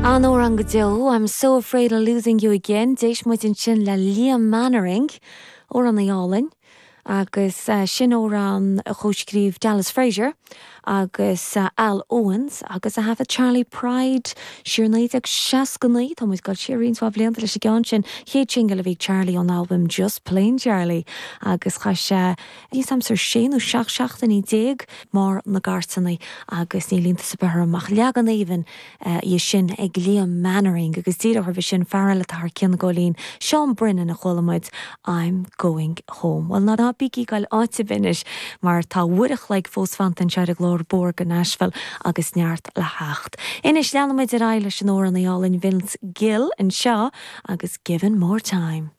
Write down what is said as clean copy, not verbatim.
An-amhrán go deo, I'm so afraid of losing you again. D'éist muid ansin le Liam Mannering, amhránaí álainn, agus sin amhrán a chomhscríobh Dallas Frazier agus Al Owens agus a thaifead Charley Pride siar 1969. Tá muid ag dul siar roinnt mhaith blianta leis an gceann sin, chéad singil a bhí ag Charlie ón albam Just Plain Charlie agus chaith sé Níl 's a'msa sé nó 17 seachtainí i mbarr na gcairteanna agus níl iontas ar bith orm ach leagan aoibhinn é sin ag Liam Mannering agus díreach roimhe sin fear eile atá thar cionn ag Góilín, Seán Brennan a chuala muid I'm Going Home. Bhuel ná bígí ag goil áit ar bith anois mar tá uair a chloig fós fanta anseo ar an gclár Bóthar go Nashville agus neart le theacht. Anois leanfaidh muid ar aghaidh leis an amhránaí álainn Vince Gill anseo agus Given More Time.